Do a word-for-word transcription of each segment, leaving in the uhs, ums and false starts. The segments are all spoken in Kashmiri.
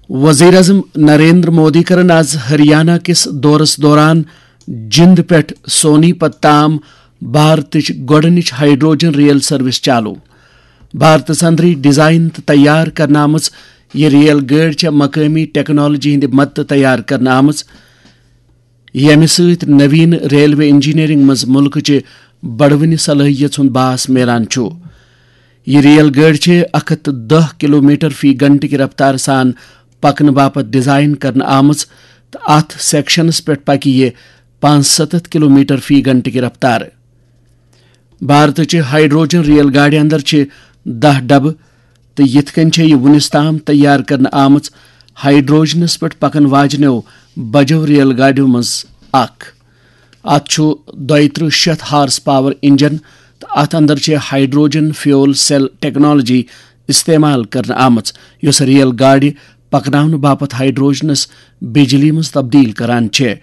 وزیر اعظم نریندر مودی کرن آز ہریانہ کِس دورس دوران جند پٮ۪ٹھ سونی پت تام بھارتٕچ گۄڈٕنِچ ہائیڈروجن ریل سروس چالو۔ بھارتس اندرٕے ڈیزائن تہٕ تیار کرنہٕ آمٕژ یہِ ریل گٲڑۍ چھےٚ مقٲمی ٹیکنالوجی ہٕنٛدِ مدتہٕ تیار کرنہٕ آمٕژ، ییٚمہِ سۭتۍ نوین ریلوے انجینئرنگ منٛز ملکٕچہِ بڑوٕنہِ صلٲحیژ ہُنٛد باس میلان چھُ۔ یہِ ریل گٲڑۍ چھِ اکھ ہتھ تہٕ دَہ کلومیٹر فی گھنٹہٕ کہِ رفتارٕ سان پکنہٕ باپتھ ڈیزائن کرنہٕ آمٕژ تہٕ اتھ سیکشنس پٮ۪ٹھ پکہِ یہِ پانٛژھ ستتھ کلومیٹر فی گھنٹہٕ کہِ رفتارٕ۔ بھارتٕچہِ ہائیڈروجن ریل گاڑِ اندر چھِ دَہ ڈبہٕ، تہٕ یِتھ کٔنۍ چھےٚ یہِ وُنِس تام تیار کرنہٕ آمٕژ ہائیڈروجنس پٮ۪ٹھ پکن واجنیو بجو ریل گاڑیو منٛز اکھ۔ اتھ چھُ دۄیہِ ترٕٛہ شیٚتھ ہارس پاور انجن تہٕ اتھ اندر چھِ ہائیڈروجن فیول سیل ٹیکنالوجی استعمال کرنہٕ آمٕژ، یۄس ریل گاڑِ پکناونہٕ باپتھ ہائیڈروجنس بجلی منٛز تبدیل کران چھےٚ۔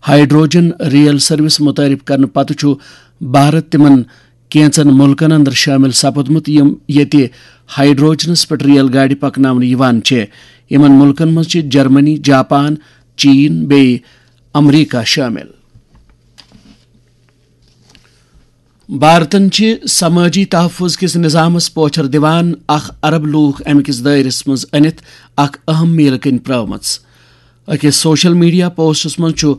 ہائیڈروجن ریل سروس متعارف کرنہٕ پتہٕ چھُ بھارت تِمن کینٛژن مُلکن اندر شٲمِل سپُدمُت، یِم ییٚتہِ ہائیڈروجنس پٮ۪ٹھ ریل گاڑِ پکناونہٕ یِوان چھےٚ۔ یِمن مُلکن منٛز چھِ جرمنی، جاپان، چین بیٚیہِ امریکہ شٲمِل۔ بھارتن چھِ سمٲجی تحفظ کِس نظامس پوچھر دِوان اکھ ارب لوٗکھ امہِ کِس دٲیرس منٛز أنِتھ اکھ اہم میٖلہٕ کٔنۍ پرٛٲومٕژ۔ أکِس سوشل میڈیا پوسٹس منٛز چھُ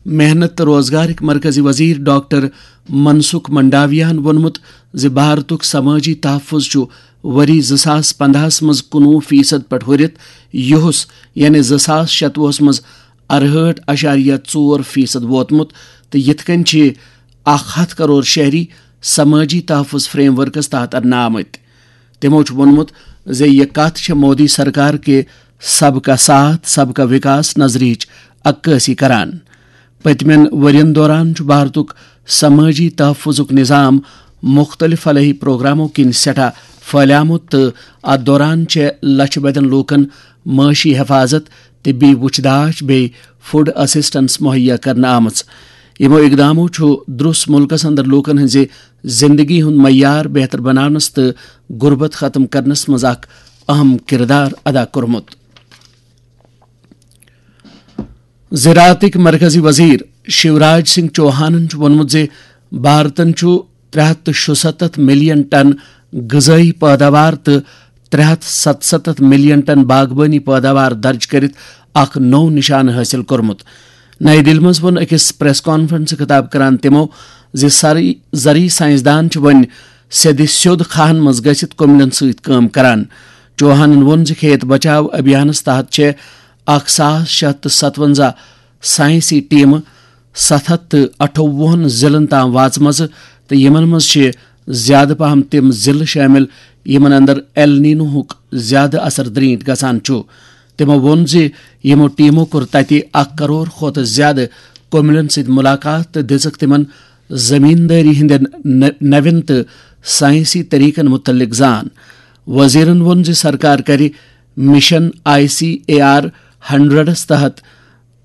محنت تہٕ روزگارٕکۍ مرکزی وزیر ڈاکٹر منسکھ منڈاویاہن ووٚنمُت زِ بھارتُک سمٲجی تحفظ چھُ ؤری زٕ ساس پندہس منٛز کُنوُہ فیصد پٮ۪ٹھ ہُرِتھ یُہُس، یعنی زٕ ساس شتوُہس منٛز ارہٲٹھ اعشاریہ ژور فیصد ووتمُت، تہٕ یِتھ کٔنۍ چھِ اکھ ہتھ کرور شہری سمٲجی تحفظ فریم ورکس تحت اننہٕ آمٕتۍ۔ تِمو چھُ ووٚنمُت زِ یہِ کتھ چھےٚ مودی سرکار کہِ سب کا ساتھ، سب کا وکاس نظریہٕچ عکٲسی کران۔ پٔتمٮ۪ن ؤرین دوران چھُ بھارتُک سمٲجی تحفظُک نظام مُختٔلِف فلاحی پروگرامو کِنۍ سٮ۪ٹھاہ پھٔہلیومُت تہٕ اتھ دوران چھےٚ لچھِ بٔدٮ۪ن لوٗکن معاشی حفاظت، طبی وُچھ داچھ بیٚیہِ فوڈ اسسٹنس مہیا کرنہٕ آمٕژ۔ یِمو اقدامو چھُ درُس مُلکس اندر لوٗکن ہٕنٛزِ زندگی ہُنٛد معیار بہتر بناونس تہٕ غربت ختم کرنس منٛز اکھ اہم کردار ادا کوٚرمُت۔ زراعتٕکۍ مرکزی وزیر شیوراج سنگھ چوہانن چھُ ووٚنمُت زِ بھارتن چھُ ترٛےٚ ہتھ تہٕ شُستتھ ملین ٹن غذٲیی پٲداوار تہٕ ترٛےٚ ہتھ ستستتھ ملین ٹن باغبٲنی پٲداوار درج کٔرِتھ اکھ نوٚو نشانہٕ حٲصِل کوٚرمُت۔ نئی دِلہِ منٛز ووٚن أکِس پریس کانفرنسہِ خطاب کران تِمو زِ سرٕے زرعی سائنسدان چھِ وۄنۍ سیٚدِ سیوٚد کھاہن منٛز گٔژھِتھ کُملٮ۪ن سۭتۍ کٲم کران۔ چوہانن ووٚن زِ کھیت بچاو ابھیانس تحت چھےٚ اکھ ساس شےٚ ہتھ تہٕ ستونزہ سائنسی ٹیمہٕ ستھ ہتھ تہٕ اَٹھووُہن ضلعن تام واژمژٕ تہٕ یِمن منٛز چھِ زیادٕ پہم تِم ضلعہٕ شٲمِل یِمن اندر ایل نینوہُک زیادٕ اثر درینٹھ گژھان چھُ۔ تِمو ووٚن زِ یِمو ٹیمو کوٚر تَتہِ اکھ کرور کھۄتہٕ زیادٕ کُملٮ۪ن سۭتۍ مُلاقات تہٕ دِژٕکھ تِمن زمیٖندٲری ہٕنٛدٮ۪ن نہ-، نوٮ۪ن تہٕ ساینسی طریقن مُتعلق زان۔ وزیرن ووٚن زِ سرکار کرِ mission I C A R hundreds تحت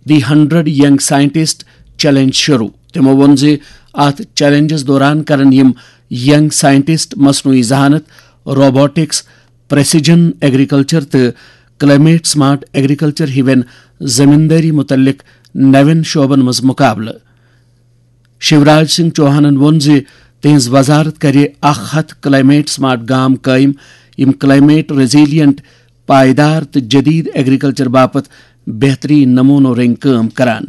the hundred young scientist challenge شروع۔ تِمو ووٚن زِ اتھ چیلنجس دوران کرن یِم ینگ سائنٹسٹ مصنوعی ذہانت، روبوٹکس، پریسیجن ایگریکلچر تہٕ کلائمیٹ سمارٹ ایگریکلچر ہِوٮ۪ن زمیٖندٲری مُتعلق نوٮ۪ن شعبن منٛز مُقابلہٕ۔ شیوراج سنگھ چوہانن ووٚن زِ تِہنٛز وزارت کرِ اکھ ہتھ کلائمیٹ سمارٹ گام قٲیِم، یِم کلائمیٹ ریزیلینٹ، پائیدار تہٕ جدید ایگریکلچر باپتھ بہترین نمونو رٔنگۍ کٲم کران۔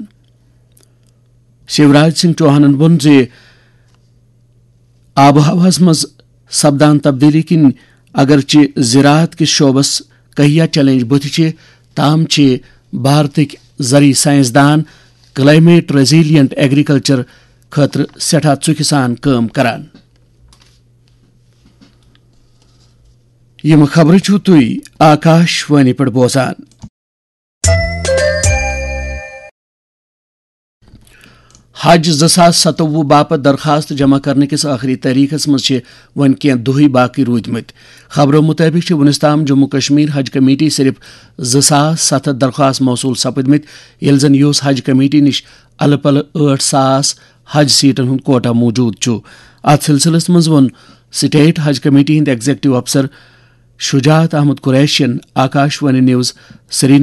شیوراج سنگھ چوہانن ووٚن زِ آب و ہوہس منٛز سپدان تبدیلی کِنۍ اگرچہِ زراعت کِس شعبس کہیا چیلنج بُتھِ چھِ، تاہم چھِ بھارتٕکۍ زرعی سائنسدان کلائمیٹ ریزیلینٹ ایگریکلچر خٲطرٕ سٮ۪ٹھاہ ژُکہِ سان کٲم کران۔ یِم خبرٕ چھِو تُہۍ آکاش وانی پٮ۪ٹھ بوزان۔ حج زٕ ساس ستووُہ باپتھ درخواست جمع کرنہٕ کِس ٲخری تٲریخس منٛز چھِ وۄنۍ کینٛہہ دۄہٕے باقٕے روٗدمٕتۍ۔ خبرو مُطٲبِق چھِ وُنیُس تام جموں کشمیر حج کمیٹی صرف زٕ ساس ستھ ہتھ درخواست موصوٗل سپٕدمٕتۍ، ییٚلہِ زن یہِ اوس حج کمیٹی نِش الہٕ پلہٕ ٲٹھ ساس حج سیٹن ہُنٛد کوٹا موجود چھُ۔ اتھ سلسلس منٛز ووٚن سٹیٹ حج کمیٹی ہٕنٛدۍ ایگزیکٹو افسر شجاعت احمد قریشین آکاش وانی نیوز سرینگر